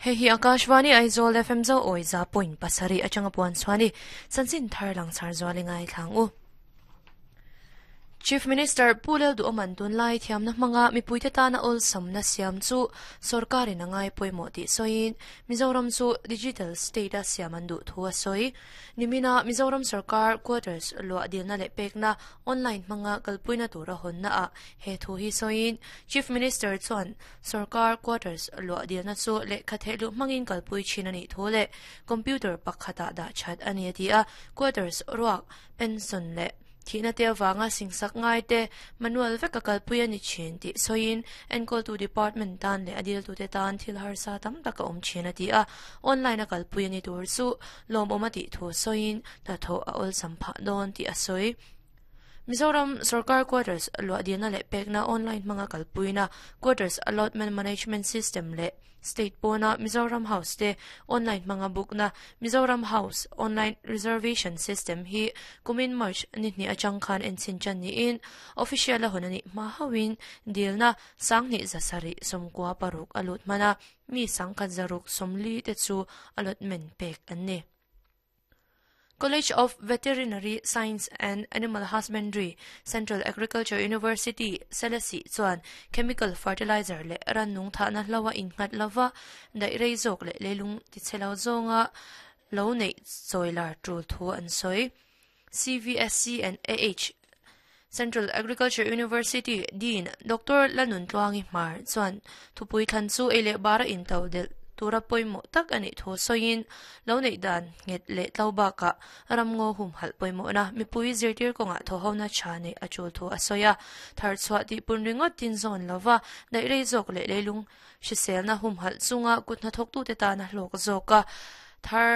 Hei hi Akashvani Aizawl FM zo awi 100.7 atanga puan chuani chanchin thar lang char zuali ngai thlang u. Chief Minister Pu Lalduhoman tunlai thiamna hmanga mipuite tana awlsamna siam chu sorkarin a ngai pawimawh tih sawiin Mizoram chu Digital State a siam an duh thu a sawi. Nimina Mizoram sorkar quarters luah dilna leh pekna online hmanga kalpuina tura hawnna ah he thu hi sawiin Chief Minister chuan sorkar quarters luah dilna chu lehkha thehluh hmangin kalpui thin a nih thu leh computer pakhatah dah that a ni a ti a, quarters ruak pension leh thihna te avanga singsak ngai te manual vek a kalpui a ni thin tih sawiin enkawltu department tan leh a diltute tan thil harsa tam tak a awm thin a ti a, online a kalpui a ni tur chu lawmawm a tih thu sawiin hnathawh a awlsam phah dawn tih a sawi. Mizoram Sorkar Quarters luah dilna leh pekna online hmanga kalpuina Quarters Allotment Management System leh State pawna Mizoram House te online hmanga book-na Mizoram House Online Reservation System hi kumin March ni hnih atang khan enchhin tan niin official a hawn a nih hma hauhin dilna 2796 a lut hman a, mi 1140 te chu allotment pek an ni. College of Veterinary Science and Animal Husbandry, Central Agriculture University, Selesih chuan chemical fertilizer leh rannung thahna hloa innghat lova daih rei zawk leh leilung tichhe lo zawnga lo neih chawi lar tul thu an sawi. CVSC and AH Central Agriculture University Dean Doctor Lanuntluangi Hmar chuan thupui thlan chu ei leh bara into delh tura pawimawh tak a nih thu sawiin lo neih dan nghet leh tlo bakah ramngaw humhalh pawimawhna mipui zirtir kawngah thawhona tha neih a tul thu a sawi a. Thar chhuah tih pun ringawt tin zawn lova daih rei zawk leh leilung hriselna humhalh chunga kut hnathawktute tana hlawk zawka thar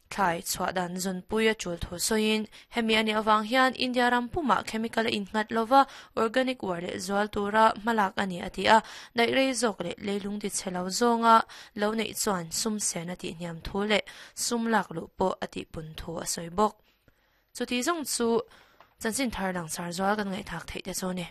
Thlai chhuah dan zawnpui a tul thu sawiin, hemi a nih avang hian India ram pumah chemical a innghat lova organic uar leh zual tura hmalak a ni a ti a, daih rei zawk leh leilung ti chhe lo zawnga lo neih chuan sum sen a tihhniam thu leh sum lak luh pawh a tihpun thu a sawi bawk. Chuti zawng chu chanchin thar langsar zual kan ngaihthak theih te chu a ni.